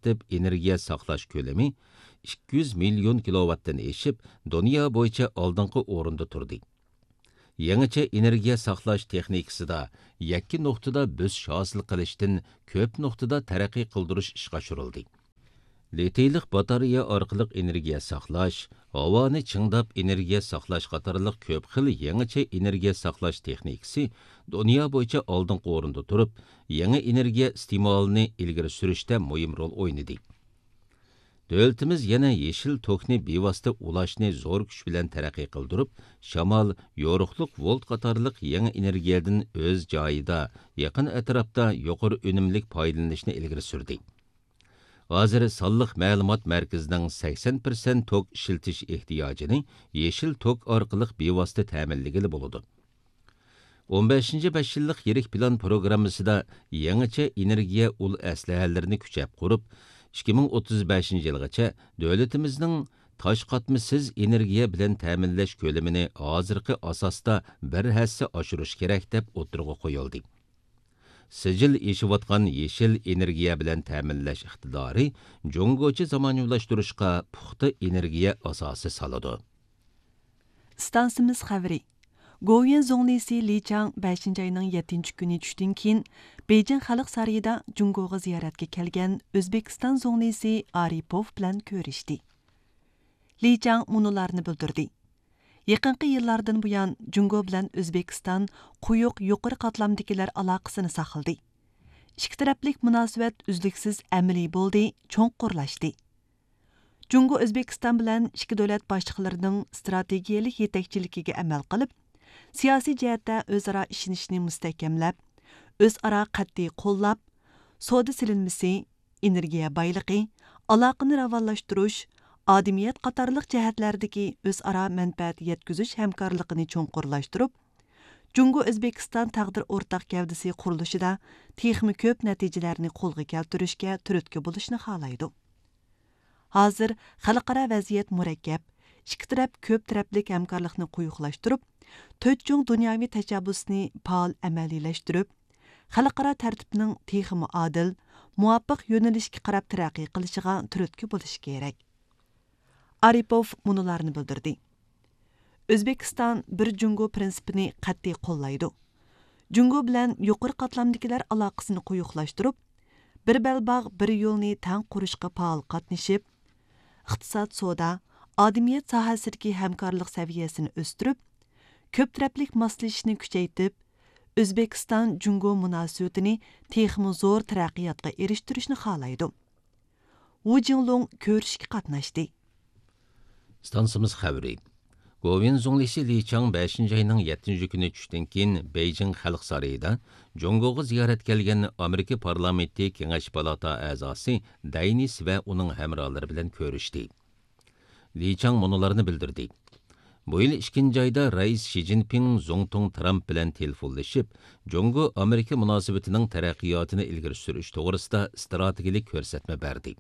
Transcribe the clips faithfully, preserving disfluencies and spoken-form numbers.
ئاكتىپ ئېنېرگىيە ساقلاش كۆلىمى ئىككى يۈز مىليون كىلوۋاتتىن ئېشىپ، دۇنيا بويىچە ئالدىنقى ئورۇندا تۇردى. يېڭىچە ئېنېرگىيە ساقلاش تېخنىكىسىدا يەككە نۇقتىدا بۆسۈش ھاسىل قىلىشتىن كۆپ نۇقتىدا تەرەققىي قىلدۇرۇش ئىشقا ئاشۇرۇلدى. لىتىيلىق باتارېيە ئارقىلىق ئېنېرگىيە ساقلاش، ھاۋانى چىڭداپ ئېنېرگىيە ساقلاش قاتارلىق كۆپ خىل يېڭىچە ئېنېرگىيە ساقلاش تېخنىكىسى دۇنيا بويىچە ئالدىنقى ئورۇندا تۇرۇپ، يېڭى ئېنېرگىيە ئىستېمالىنى ئىلگىرى سۈرۈشتە مۇھىم رول ئوينىدى. دۆلىتىمىز يەنە يېشىل توكنى بىۋاسىتە ئۇلاشنى زور كۈچ بىلەن تەرەققىي قىلدۇرۇپ، شامال، يورۇقلۇق ۋولت قاتارلىق يېڭى ئېنېرگىيەدىن ئۆز جايىدا، يېقىن ئەتراپتا يۇقىرى ئۈنۈملۈك پايدىلىنىشنى ئىلگىرى سۈردى. ھازىر سانلىق مەلۇمات مەركىزىنىڭ سەكسەن پىرسەنت توك ئىشلىتىش ئېھتىياجىنى يېشىل توك ئارقىلىق بىۋاسىتە تەمىنلىگىلى بولىدۇ. ئون بەشىنچى بەش يىللىق يىرىك پىلان پروگراممىسىدا يېڭىچە ئېنېرگىيە ئۇل ئەسلىھەلىرىنى كۈچەپ قۇرۇپ، ئىككى مىڭ ئوتتۇز بەشىنچى يىلغىچە دۆلىتىمىزنىڭ تاش قاتمىسىز ئېنېرگىيە بىلەن تەمىنلەش كۆلىمىنى ھازىرقى ئاساستا بىر ھەسسە ئاشۇرۇش كېرەك، دەپ ئوتتۇرىغا قويۇلدى. سىجىل ئېشىۋاتقان يېشىل ئېنېرگىيە بىلەن تەمىنلەش ئىقتىدارى جۇڭگوچە زامانىۋىلاشتۇرۇشقا پۇختا ئېنېرگىيە ئاساسى سالىدۇ. ئىستانسىمىز خەۋىرى. گوۋۇيۈەن زۇڭلىسى لى چاڭ بەشىنچى ئاينىڭ يەتتىنچى كۈنى چۈشتىن كېيىن، بېيجىڭ خەلق سارىيىدا جۇڭگوغا زىيارەتكە كەلگەن ئۆزبېكىستان زۇڭلىسى ئارىپوف بىلەن كۆرۈشتى. لى چاڭ مۇنۇلارنى بىلدۈردى: يېقىنقى يىللاردىن بۇيان، جۇڭگو بىلەن ئۆزبېكىستان قويۇق يۇقىرى قاتلامدىكىلەر ئالاقىسىنى ساقلىدى. ئىككى تەرەپلىك مۇناسىۋەت ئۈزلۈكسىز ئەمەلىي بولدى، چوڭقۇرلاشتى. جۇڭگو ئۆزبېكىستان بىلەن ئىككى دۆلەت باشلىقلىرىنىڭ ئىستراتېگىيەلىك يېتەكچىلىكىگە ئەمەل قىلىپ، سىياسىي جەھەتتە ئۆزئارا ئىشىنىشنى مۇستەھكەملەپ، ئۆزئارا قەتئىي قوللاپ، سودا سېلىنمىسى، ئېنېرگىيە بايلىقى، ئالاقىنى راۋانلاشتۇرۇش، ئادىمىيەت قاتارلىق جەھەتلەردىكى ئۆزئارا مەنپەئەت يەتكۈزۈش ھەمكارلىقىنى چوڭقۇرلاشتۇرۇپ، جۇڭگو ئۆزبېكىستان تەقدىر ئورتاق گەۋدىسى قۇرۇلۇشىدا تېخىمۇ كۆپ نەتىجىلەرنى قولغا كەلتۈرۈشكە تۈرتكە بولۇشنى خالايدۇ. ھازىر خەلقئارا ۋەزىيەت مۇرەككەپ، ئىككى تەرەپ كۆپ تەرەپلىك ھەمكارلىقنى قويۇقلاشتۇرۇپ، تۆت چوڭ دۇنياۋى تەشەببۇسنى پائال ئەمەلىيلەشتۈرۈپ، خەلقئارا تەرتىپنىڭ تېخىمۇ ئادىل، مۇۋاپىق يۆنىلىشكە قاراپ تەرەققىي قىلىشىغا تۈرتكە بولۇشى كېرەك. ئارىپوف مۇنۇلارنى بىلدۈردى: ئۆزبېكىستان بىر جۇڭگو پىرىنسىپىنى قەتئىي قوللايدۇ. جۇڭگو بىلەن يۇقىرى قاتلامدىكىلەر ئالاقىسىنى قويۇقلاشتۇرۇپ، بىر بەلباغ، بىر يولنى تەڭ قۇرۇشقا پائال قاتنىشىپ، ئىقتىساد، سودا، ئادىمىيەت ساھەسىدىكى ھەمكارلىق سەۋىيەسىنى ئۆستۈرۈپ، كۆپ تەرەپلىك ماسلىشىشنى كۈچەيتىپ، ئۆزبېكىستان جۇڭگو مۇناسىۋىتىنى تېخىمۇ زور تەرەققىياتقا ئېرىشتۈرۈشنى خالايدۇ. ۋۇ جىڭلۇڭ كۆرۈشۈشكە قاتناشتى. ئىستانسىمىز خەۋىرى. گوۋۇيۈەن زۇڭلىسى لى چاڭ بەشىنچى ئاينىڭ يەتتىنچى كۈنى چۈشتىن كېيىن بېيجىڭ خەلق سارىيىدا جۇڭگوغا زىيارەتكە كەلگەن ئامېرىكا پارلامېنتى كېڭەش پالاتا ئەزاسى دەينىس ۋە ئۇنىڭ ھەمراھلىرى بىلەن كۆرۈشتى. لى چاڭ مۇنۇلارنى بىلدۈردى: بۇ يىل ئىككىنچى ئايدا رەئىس شى جىنپىڭ زۇڭتۇڭ ترامپ بىلەن تېلېفونلىشىپ، جۇڭگو ئامېرىكا مۇناسىۋىتىنىڭ تەرەققىياتىنى ئىلگىرى سۈرۈش توغرىسىدا ئىستراتېگىيەلىك كۆرسەتمە بەردى.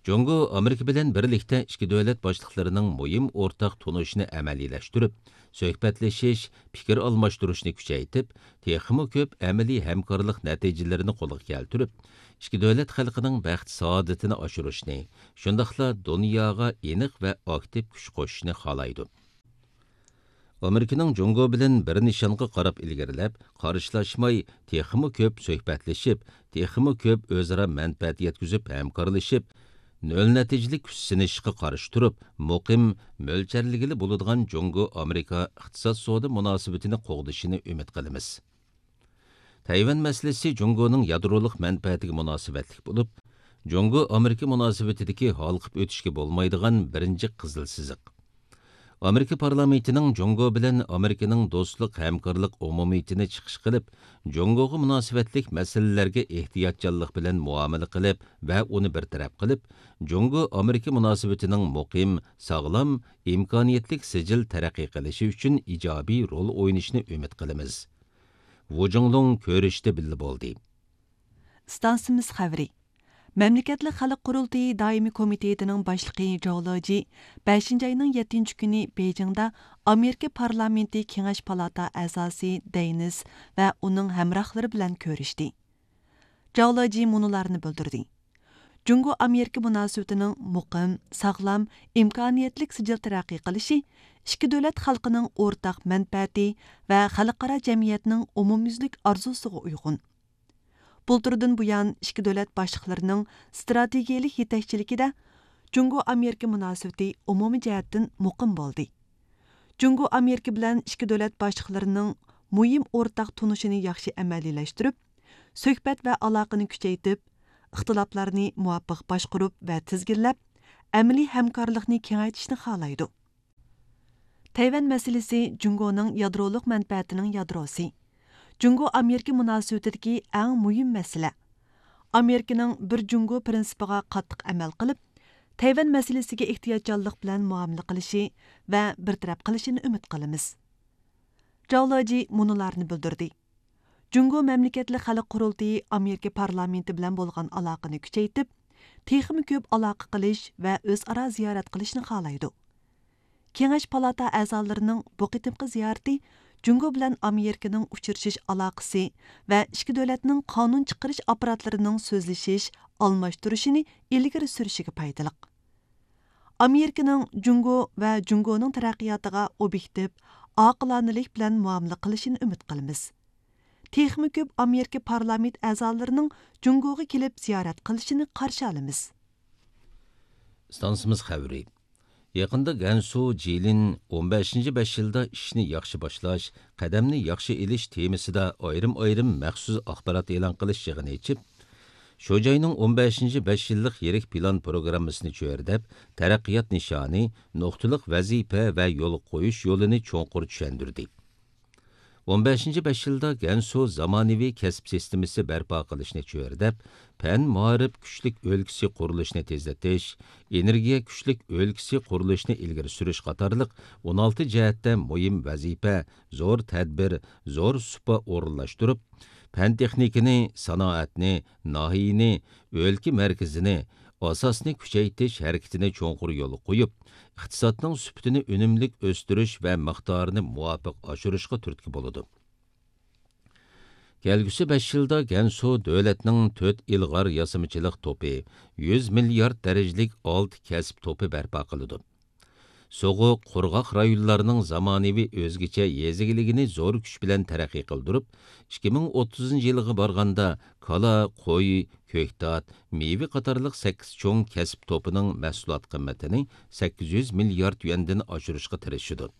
جۇڭگو ئامېرىكا بىلەن بىرلىكتە ئىككى دۆلەت باشلىقلىرىنىڭ مۇھىم ئورتاق تونۇشىنى ئەمەلىيلەشتۈرۈپ، سۆھبەتلىشىش، پىكىر ئالماشتۇرۇشنى كۈچەيتىپ، تېخىمۇ كۆپ ئەمەلىي ھەمكارلىق نەتىجىلىرىنى قولغا كەلتۈرۈپ، ئىككى دۆلەت خەلقىنىڭ بەخت-سائادىتىنى ئاشۇرۇشنى، شۇنداقلا دۇنياغا ئېنىق ۋە ئاكتىپ كۈچ قوشۇشنى خالايدۇ. ئامېرىكىنىڭ جۇڭگو بىلەن بىر نىشانغا قاراپ ئىلگىرىلەپ، قارشىلاشماي، تېخىمۇ كۆپ سۆھبەتلىشىپ، تېخىمۇ كۆپ ئۆزئارا مەنپەئەت يەتكۈزۈپ ھەمكارلىشىپ، نۆل نەتىجىلىك كۈچ سىنىشىشقا قارشى تۇرۇپ، مۇقىم، مۆلچەرلىگىلى بولىدىغان جۇڭگو ئامېرىكا ئىقتىساد سودا مۇناسىۋىتىنى قوغدىشىنى ئۈمىد قىلىمىز. تەيۋەن مەسىلىسى جۇڭگونىڭ يادرولۇق مەنپەئەتىگە مۇناسىۋەتلىك بولۇپ، جۇڭگو ئامېرىكا مۇناسىۋىتىدىكى ھالقىپ ئۆتۈشكە بولمايدىغان بىرىنچى قىزىل سىزىق. ئامېرىكا پارلامېنتىنىڭ جۇڭگو بىلەن ئامېرىكىنىڭ دوستلۇق ھەمكارلىق ئومۇمىيىتىنى چىقىش قىلىپ، جۇڭگوغا مۇناسىۋەتلىك مەسىلىلەرگە ئېھتىياتچانلىق بىلەن مۇئامىلە قىلىپ ۋە ئۇنى بىر تەرەپ قىلىپ، جۇڭگو ئامېرىكا مۇناسىۋىتىنىڭ مۇقىم، ساغلام، ئىمكانىيەتلىك سىجىل تەرەققىي قىلىشى ئۈچۈن ئىجابىي رول ئوينىشىنى ئۈمىد قىلىمىز. ۋۇ جۇڭلۇڭ كۆرۈشتە بىللە بولدى. ئىستانسىمىز خەۋىرى. مەملىكەتلىك خەلق قۇرۇلتىيى دائىمىي كومىتېتىنىڭ باشلىقى جاۋ لېجى بەشىنچى ئاينىڭ يەتتىنچى كۈنى بېيجىڭدا ئامېرىكا پارلامېنتى كېڭەش پالاتا ئەزاسى دېينىس ۋە ئۇنىڭ ھەمراھلىرى بىلەن كۆرۈشتى. جاۋ لېجى مۇنۇلارنى بىلدۈردى: جۇڭگو ئامېرىكا مۇناسىۋىتىنىڭ مۇقىم، ساغلام، ئىمكانىيەتلىك سىجىل تەرەققىي قىلىشى ئىككى دۆلەت خەلقىنىڭ ئورتاق مەنپەئەتى ۋە خەلقئارا جەمئىيەتنىڭ ئومۇميۈزلۈك ئارزۇسىغا ئۇيغۇن. بۇلتۇردىن بۇيان، ئىككى دۆلەت باشلىقلىرىنىڭ ئىستراتېگىيەلىك يېتەكچىلىكىدە جۇڭگو ئامېرىكا مۇناسىۋىتى ئومۇمىي جەھەتتىن مۇقىم بولدى. جۇڭگو ئامېرىكا بىلەن ئىككى دۆلەت باشلىقلىرىنىڭ مۇھىم ئورتاق تونۇشىنى ياخشى ئەمەلىيلەشتۈرۈپ، سۆھبەت ۋە ئالاقىنى كۈچەيتىپ، ئىختىلاپلارنى مۇۋاپىق باشقۇرۇپ ۋە تىزگىنلەپ، ئەمەلىي ھەمكارلىقنى كېڭەيتىشنى خالايدۇ. تەيۋەن مەسىلىسى جۇڭگونىڭ يادرولۇق مەنپەئەتىنىڭ يادروسى. جۇڭگو ئامېرىكا مۇناسىۋىتىدىكى ئەڭ مۇھىم مەسىلە. ئامېرىكىنىڭ بىر جۇڭگو پىرىنسىپىغا قاتتىق ئەمەل قىلىپ، تەيۋەن مەسىلىسىگە ئېھتىياتچانلىق بىلەن مۇئامىلە قىلىشى ۋە بىر تەرەپ قىلىشىنى ئۈمىد قىلىمىز. جاۋ لېجى مۇنۇلارنى بىلدۈردى. جۇڭگو مەملىكەتلىك خەلق قۇرۇلتىيى ئامېرىكا پارلامېنتى بىلەن بولغان ئالاقىنى كۈچەيتىپ، تېخىمۇ كۆپ ئالاقە قىلىش ۋە ئۆزئارا زىيارەت قىلىشنى خالايدۇ. كېڭەش پالاتا ئەزالىرىنىڭ بۇ قېتىمقى زىيارىتى جۇڭگو بىلەن ئامېرىكىنىڭ ئۇچرىشىش ئالاقىسى ۋە ئىككى دۆلەتنىڭ قانۇن چىقىرىش ئاپپاراتلىرىنىڭ سۆزلىشىش، ئالماشتۇرۇشىنى ئىلگىرى سۈرۈشىگە پايدىلىق. ئامېرىكىنىڭ جۇڭگو ۋە جۇڭگونىڭ تەرەققىياتىغا ئوبيېكتىپ، ئاقىلانىلىك بىلەن مۇئامىلە قىلىشىنى ئۈمىد قىلىمىز. تېخىمۇ كۆپ ئامېرىكا پارلامېنت ئەزالىرىنىڭ جۇڭگوغا كېلىپ زىيارەت قىلىشىنى قارشى ئالىمىز. ئىستانسىمىز خەۋىرى. يېقىندا گەنسۇ جىلىن ئون بەشىنچى بەش يىلدا ئىشنى ياخشى باشلاش، قەدەمنى ياخشى ئېلىش تېمىسىدا ئايرىم-ئايرىم مەخسۇس ئاخبارات ئېلان قىلىش يىغىنى ئېچىپ، شۇ جاينىڭ ئون بەشىنچى بەش يىللىق يىرىك پىلان پروگراممىسىنى چۆرىدەپ، تەرەققىيات نىشانى، نۇقتىلىق ۋەزىپە ۋە يول قويۇش يولىنى چوڭقۇر چۈشەندۈردى. ئون بەشىنچى بەش يىلدا گەنسۇ زامانىۋى كەسىپ سىستېمىسى بەرپا قىلىشنى چۆرىدەپ، پەن مائارىپ كۈچلۈك ئۆلكىسى قۇرۇلۇشىنى تېزلىتىش، ئېنېرگىيە كۈچلۈك ئۆلكىسى قۇرۇلۇشىنى ئىلگىرى سۈرۈش قاتارلىق ئون ئالتە جەھەتتە مۇھىم ۋەزىپە، زور تەدبىر، زور سۇپا ئورۇنلاشتۇرۇپ، پەن تېخنىكىنى، سانائەتنى، ناھىيىنى، ئۆلكە مەركىزىنى، ئاساسنى كۈچەيتىش ھەرىكىتىنى چوڭقۇر يولغا قويۇپ، ئىقتىسادنىڭ سۈپىتىنى ئۈنۈملۈك ئۆستۈرۈش ۋە مىقدارىنى مۇۋاپىق ئاشۇرۇشقا تۈرتكە بولىدۇ. كەلگۈسى بەش يىلدا گەنسۇ دۆلەتنىڭ تۆت ئىلغار ياسىمىچىلىق توپى، يۈز مىليارد دەرىجىلىك ئالتە كەسىپ توپى بەرپا قىلىدۇ. سوغۇق، قۇرغاق رايونلارنىڭ زامانىۋى ئۆزگىچە يېزا ئىگىلىكىنى زور كۈچ بىلەن تەرەققىي قىلدۇرۇپ، ئىككى مىڭ ئوتتۇزىنچى يىلغا بارغاندا كالا، قوي، كۆكتات، مېۋە قاتارلىق سەككىز چوڭ كەسىپ توپىنىڭ مەھسۇلات قىممىتىنى سەككىز يۈز مىليارد يۈەندىن ئاشۇرۇشقا تىرىشىدۇ.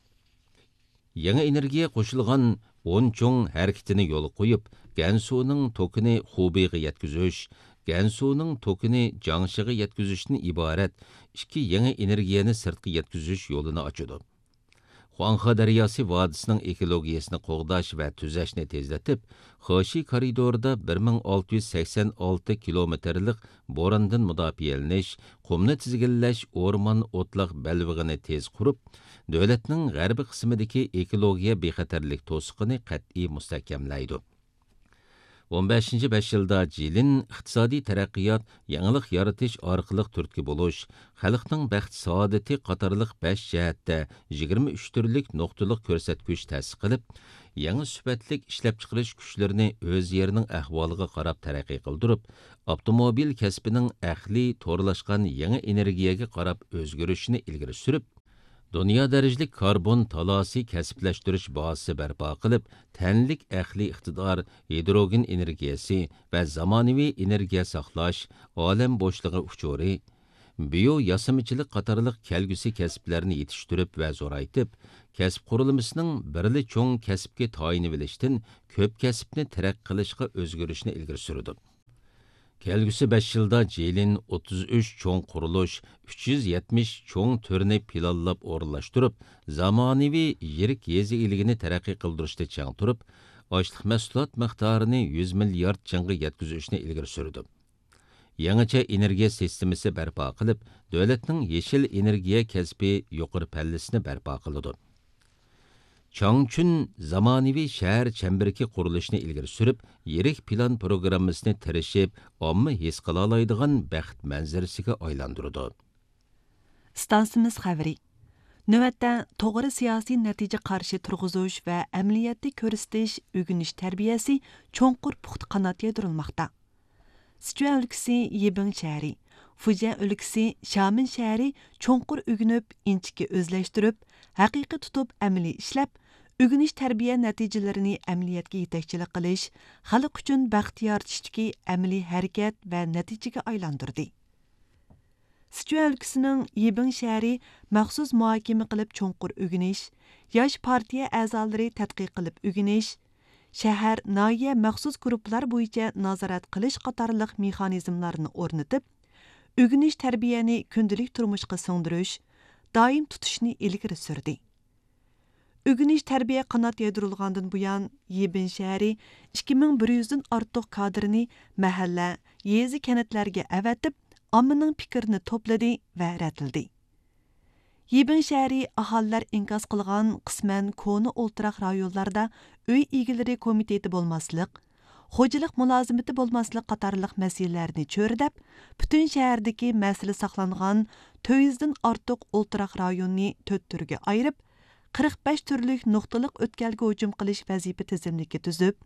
يېڭى ئېنېرگىيە قوشۇلغان ئون چوڭ ھەرىكىتىنى يولغا قويۇپ، گەنسۇنىڭ توكىنى خۇبېيغا يەتكۈزۈش، گەنسۇنىڭ توكىنى جياڭشىغا يەتكۈزۈشتىن ئىبارەت ئىككى يېڭى ئېنېرگىيەنى سىرتقا يەتكۈزۈش يولىنى ئاچىدۇ. خۇاڭخې دەرياسى ۋادىسىنىڭ ئېكولوگىيەسىنى قوغداش ۋە تۈزەشنى تېزلىتىپ، خېشى كارىدورىدا بىر مىڭ ئالتە يۈز سەكسەن ئالتە كىلومېتىرلىق بوراندىن مۇداپىئەلىنىش، قۇمنى تىزگىنلەش، ئورمان ئوتلاق بەلبېغىنى تېز قۇرۇپ، دۆلەتنىڭ غەربىي قىسمىدىكى ئېكولوگىيە بىخەتەرلىك توسۇقىنى قەتئىي مۇستەھكەملەيدۇ. ئون بەشىنچى بەش يىلدا جىلىن ئىقتىسادىي تەرەققىيات، يېڭىلىق يارىتىش ئارقىلىق تۈرتكە بولۇش، خەلقنىڭ بەخت سائادىتى قاتارلىق بەش جەھەتتە يىگىرمە ئۈچ تۈرلۈك نۇقتىلىق كۆرسەتكۈچ تەسىس قىلىپ، يېڭى سۈپەتلىك ئىشلەپچىقىرىش كۈچلىرىنى ئۆز يېرىنىڭ ئەھۋالىغا قاراپ تەرەققىي قىلدۇرۇپ، ئاپتوموبىل كەسپىنىڭ ئەقلىي تورلاشقان يېڭى ئېنېرگىيەگە قاراپ ئۆزگىرىشىنى ئىلگىرى سۈرۈپ، دۇنيا دەرىجىلىك كاربون تالاسى كەسىپلەشتۈرۈش بازىسى بەرپا قىلىپ، تەنلىك ئەقلىي ئىقتىدار، ھىدروگېن ئېنېرگىيەسى ۋە زامانىۋى ئېنېرگىيە ساقلاش، ئالەم بوشلۇقى ئۇچۇرى، بىيو ياسىمىچىلىق قاتارلىق كەلگۈسى كەسىپلەرنى يېتىشتۈرۈپ ۋە زورايتىپ، كەسىپ قۇرۇلمىسىنىڭ بىرلا چوڭ كەسىپكە تايىنىۋېلىشتىن كۆپ كەسىپنى تەرەققىي قىلىشقا ئۆزگىرىشنى ئىلگىرى سۈرىدۇ. كەلگۈسى بەش يىلدا جىلىن ئوتتۇز ئۈچ چوڭ قۇرۇلۇش، ئۈچ يۈز يەتمىش چوڭ تۈرنى پىلانلاپ ئورۇنلاشتۇرۇپ، زامانىۋى يىرىك يېزا ئىگىلىكىنى تەرەققىي قىلدۇرۇشتا چىڭ تۇرۇپ، ئاشلىق مەھسۇلات مىقدارىنى يۈز مىليارد چىڭغا يەتكۈزۈشنى ئىلگىرى سۈرىدۇ. يېڭىچە ئېنېرگىيە سىستېمىسى بەرپا قىلىپ، دۆلەتنىڭ يېشىل ئېنېرگىيە كەسپى يۇقىرى پەللىسىنى بەرپا قىلىدۇ. چاڭچۈن زامانىۋى شەھەر چەمبىرىكى قۇرۇلۇشىنى ئىلگىرى سۈرۈپ، يىرىك پىلان پروگراممىسىنى تىرىشىپ، ئامما ھېس قىلالايدىغان بەخت مەنزىرىسىگە ئايلاندۇرىدۇ. ئىستانسىمىز خەۋىرى. نۆۋەتتە توغرا سىياسىي نەتىجە قارىشى تۇرغۇزۇش ۋە ئەمەلىيەتتە كۆرسىتىش، ئۆگىنىش تەربىيەسى چوڭقۇر پۇختا قانات يايدۇرۇلماقتا. سىچۈەن ئۆلكىسى يىبىڭ شەھىرى، فۇجيەن ئۆلكىسى شامېن شەھىرى چوڭقۇر ئۆگىنىپ، ئىنچىكە ئۆزلەشتۈرۈپ، ھەقىقىي تۇتۇپ ئەمەلىي ئىشلەپ، ئۆگىنىش تەربىيە نەتىجىلىرىنى ئەمەلىيەتكە يېتەكچىلىك قىلىش، خەلق ئۈچۈن بەخت يارىتىشتىكى ئەمەلىي ھەرىكەت ۋە نەتىجىگە ئايلاندۇردى. سىچۈەن ئۆلكىسىنىڭ يىبىڭ شەھىرى مەخسۇس مۇھاكىمە قىلىپ چوڭقۇر ئۆگىنىش، ياش پارتىيە ئەزالىرى تەتقىق قىلىپ ئۆگىنىش، شەھەر، ناھىيە مەخسۇس گۇرۇپپىلار بويىچە نازارەت قىلىش قاتارلىق مېخانىزملارنى ئورنىتىپ، ئۆگىنىش تەربىيەنى كۈندىلىك تۇرمۇشقا سىڭدۈرۈش، دائىم تۇتۇشنى ئىلگىرى سۈردى. ئۆگىنىش تەربىيە قانات يايدۇرۇلغاندىن بۇيان، يىبىن شەھىرى ئىككى مىڭ بىر يۈزدىن ئارتۇق كادىرنى مەھەللە، يېزا، كەنتلەرگە ئەۋەتىپ، ئاممىنىڭ پىكرىنى توپلىدى ۋە رەتلىدى. يىبىن شەھىرى ئاھالىلەر ئىنكاس قىلغان قىسمەن كونا ئولتۇراق رايونلاردا ئۆي ئىگىلىرى كومىتېتى بولماسلىق، خوجىلىق مۇلازىمىتى بولماسلىق قاتارلىق مەسىلىلەرنى چۆرىدەپ، پۈتۈن شەھەردىكى مەسىلە ساقلانغان تۆت يۈزدىن ئارتۇق ئولتۇراق رايوننى تۆت تۈرگە ئايرىپ، قىرىق بەش تۈرلۈك نۇقتىلىق ئۆتكەلگە ھۇجۇم قىلىش ۋەزىپە تىزىملىكى تۈزۈپ،